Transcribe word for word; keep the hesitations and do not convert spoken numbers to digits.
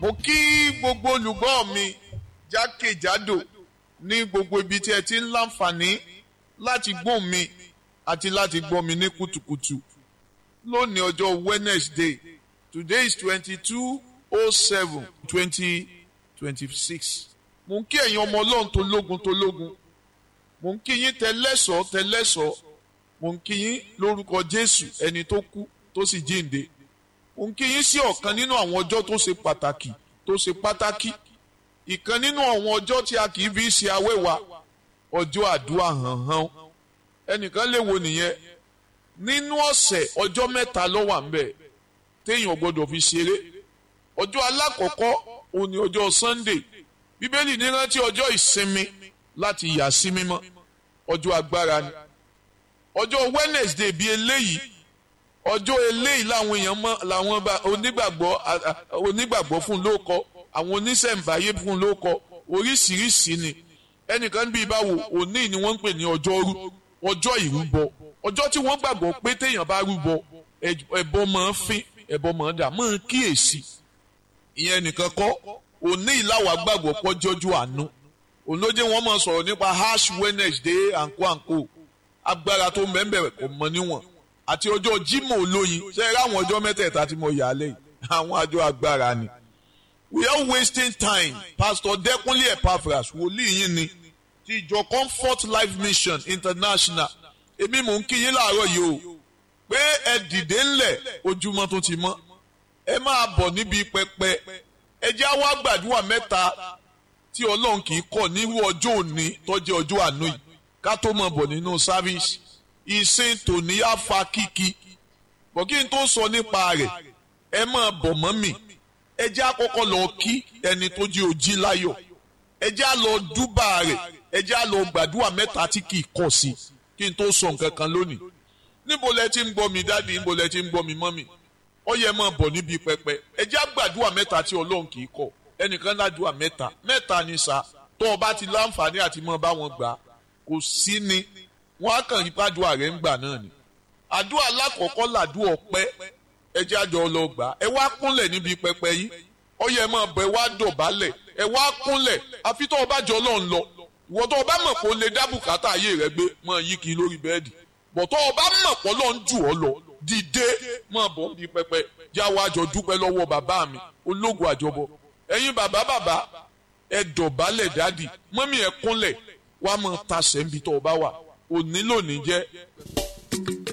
Mo kí gbogbo olùgbọ́ mi jákèjádò ní gbogbo ibi tí ẹ ti ń láǹfààní láti gbóhùn mi àti láti gbọ́ mi ní kùtùkùtù. Lónìí ọjọ́ Wednesday, today is twenty-two oh seven twenty twenty-six. Mo ń kí ẹ̀yin ọmọ Ọlọ́run tó lógun tó lógun. Mo ń kí yín tẹlẹ́sọ̀ọ́ tẹlẹ́sọ̀ọ́. Mo ń kí yín lórúkọ Jésù ẹni tó kú tó sì jíǹde. Mo ń kí yín sí ọ̀kan nínú àwọn ọjọ́ tó ṣe pàtàkì tó ṣe pátákì. Ìkan nínú àwọn ọjọ́ tí a kì í fi ṣe awẹ́wà, ọjọ́ àdúrà hànhàn. Ẹnìkan lè wo nìyẹn. Nínú ọ̀sẹ̀ ọjọ́ mẹ́ta ló wà ńbẹ̀ téèyàn gbọ́dọ̀ fi ṣeré. Ọjọ́ alákọ̀ọ́kọ́ òun ni ọjọ́ Sunday. Bíbélì ní rántí ọjọ́ ìsinmi láti yà sí mímọ́. Ọjọ́ agbára ni. Ọjọ́ Wednesday bíi eléyìí, ọjọ́ eléyìí làwọn èèyàn mọ̀, làwọn onígbàgbọ́ onígbàgbọ́ fún lóko, àwọn oníṣẹ̀ǹbáyé fún lóko, oríṣiríṣi ni. Ẹnìkan bíi báwo, òní ni wọ́n ń pè ní ọjọ́rú, ọjọ́ ìrúbọ. Ọjọ́ tí wọ́n gbàgbọ́ pé téèyàn bá rúbọ, ẹbọ máa ń fín, ẹbọ máa ń dà, máa ń kíyèsí. Ìyẹn nìkan kọ́, òní ìlàwà gbàgbọ́ pọ́ jọjú àánú. Òun ló jẹ́ wọ́n máa sọ̀rọ̀ nípa Ash Wednesday àǹkó àǹkó. Agbára tó mẹ́mbẹ̀rẹ̀ kò mọ níwọ̀n. Àti ọjọ́ Jímọ̀ olóyin, ṣé ẹ ráwọn ọjọ́ mẹ́tẹ̀ẹ̀ta tí mo yà á lẹ́yìn? Àwọn àjọ agbára ni. We are wasting time. Pastor Dẹ́kunlé Epaphras, wòlíì yín ni, ti ìjọ Comfort Life Mission International. Èmi mò ń kí yín láàárọ̀ yìí o, pé ẹ dìde ńlẹ̀ ojúmọ́ tó ti mọ́. Ẹ máa bọ̀ níbi pẹpẹ. Ẹ jẹ́ á wá gbàdúrà mẹ́ta tí Ọlọ́run kì í kọ̀ nírú ọjọ́ òní tó jẹ́ ọjọ́ àánú yìí. Ká tó mọ̀ bọ̀ nínú sáfíìsì. Ìsìn tòní á fa kíkí. Bọ̀ kí n tó sọ nípa rẹ̀, ẹ máa bọ̀ mọ́ mi. Ẹ jẹ́ á kọ́kọ́ lọ kí ẹni tó jí ojí láyọ̀. Ẹ jẹ́ á lọ dúbà rẹ̀. Ẹ jẹ́ á lọ gbàdúrà mẹ́ta tí kì í kọ̀ sí. Kí n tó sọ nǹkan kan lónìí. Níbo lẹ ti ń gbọ́ mi dádì, níbo lẹ ti ń gbọ́ mi mọ́mì? Ó yẹ máa bọ̀ níbi pẹpẹ. Ẹ jẹ́ á gbàdúrà mẹ́ta tí Ọlọ́run kì í kọ̀. Ẹnìkan ládùúrà mẹ́ta. Mẹ́ta ni sà. Tó o bá ti láǹfààní àti mọ́ bá wọn gbà, kò sí ni. Wọ́n á kàn rí pàdúrà rẹ̀ ń gbà náà ni. Àdúrà alákọ̀ọ́kọ́ làdúrà ọpẹ́. Ẹ jẹ́ àjọ lọ gbà. Ẹ wá kúnlẹ̀ níbi pẹpẹ yìí. Ó yẹ máa bọ̀, ẹ wá dọ̀bálẹ̀. Ẹ wá kúnlẹ̀. Àfi tó o bá jọ Ọlọ́run lọ. Ìwọ tó o bá mọ̀ pé o lè dá bùkátà ayé rẹ gbé, máa yí kiri lórí bẹ́ẹ̀dì. Bọ̀ tó o bá mọ̀ pé Ọlọ́run jù ọ́ lọ, dìde máa bọ̀ níbi pẹpẹ. Já wa jọ dúpẹ́ lọ́wọ́ bàbá mi, ológun àjọbọ. Ẹ̀yin bàbá bàbá, ẹ dọ̀bálẹ̀ dádì. Mọ́mí ẹ kúnlẹ̀, wá máa tasẹ̀ níbi tó o bá wà. Òní lónìí jẹ́.